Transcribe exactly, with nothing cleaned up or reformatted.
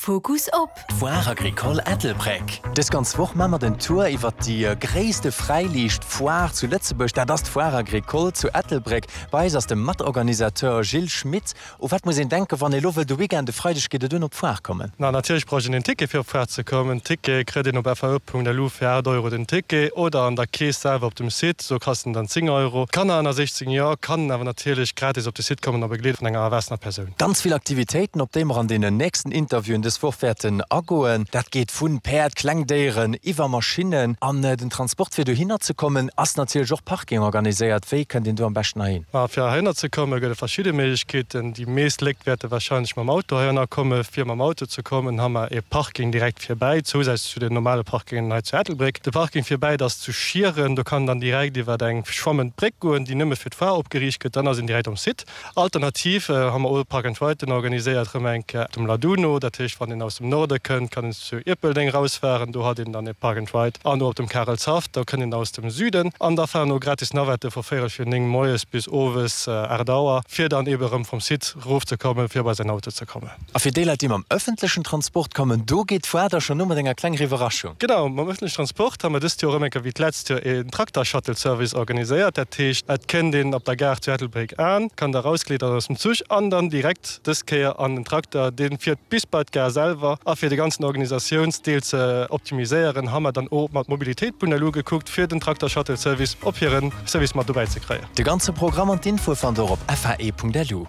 Fokus op. D'Foire Agricole Ettelbréck. Dës ganz Woch maa mer den Tour iwwer déi gréisste Fräiliicht Foire zu Lëtzebuerg. Dat ass d'Foire Agricole zu Ettelbréck. Bei eis ass de Matorganisateur Gilles Schmit. U wat muss een denken, wann ee lo wëll de Weekend, de Freideg geet et un, op d'Foire kommen? Na natierlech brauch een en Ticket fir op d'Foire ze kommen. Ticket kritt een op fae.lu fir aacht Euro den Ticket oder an der Kees selwer op dem Site, do kascht en dann zéng Euro. Kanner ënner sechzéng Joer kannen awer natierlech gratis op de Site kommen a begleet vun enger erwaassener Persoun. Ganz vill Aktivitéiten, op déi mer an deenen nächsten Interviewen dës Woch wäerten agoen. Dat geet vu Päerd, Klengdéieren iwwer Maschinnen an den Transport fir dohinner ze kommen ass natierlech och Parking organiséiert. Wéi kënnt een do am beschten heihin? Ma fir heihinner ze komme gëtt et verschidde Méiglechkeeten. Déi meescht Léit wäerte warscheinlech mam Auto heihinner kommen. Fir mam Auto ze kommen ha mer ee Parking direkt virbäi, zousätzlech zu den normale Parkingen hei zu Ettelbréck. De Parking virbäi, dat ass zu Schieren, do kann een dann direkt iwwer eng schwammend Bréck goen, déi nëmme fir d'Foire opgeriicht gëtt, dann ass een direkt um Site. Alternativ ha mer och Park and Riden organiséiert, erëm eng Kéier dem Laduno, dat heescht wann een aus dem Norde kënnt, kann een zu Ierpeldeng rausfahren, do hat een dann e Park and Ride, an och op dem Karelshaff, do kënnt een aus dem Süden. An da fahren och gratis Navette vu véierel fir néng moies bis owes aacht Auer, fir dann ebe rëm vum Site rofzekommen, fir bei säin Auto ze kommen. A fir déi Leit, déi mam ëffentlechen Transport kommen, do geet d'Foire da schonn u mat enger klenger Iwwerraschung. Genau, mam ëffentlechen Transport ha mer dëst Joer erëm eng Kéier wéi d'letzt Joer een Trakter-Shuttle-Service organiséiert. Dat heescht, et kënnt een op der Gare zu Ettelbréck an, kann da rausgliddern aus dem Zuch an dann direkt dës Kéier an den Trakter, dee fiert bis bei d'Gare selwer. A fir de ganzen Organisatiounsdeel ze optimiséieren, ha mer dann och mat Mobilitéit.lu gekuckt, fir den Trakter-Shuttle-Service op hiren Service mat dobäi ze kréien. De ganze Programm an d'Infoe fannt der op fae.lu.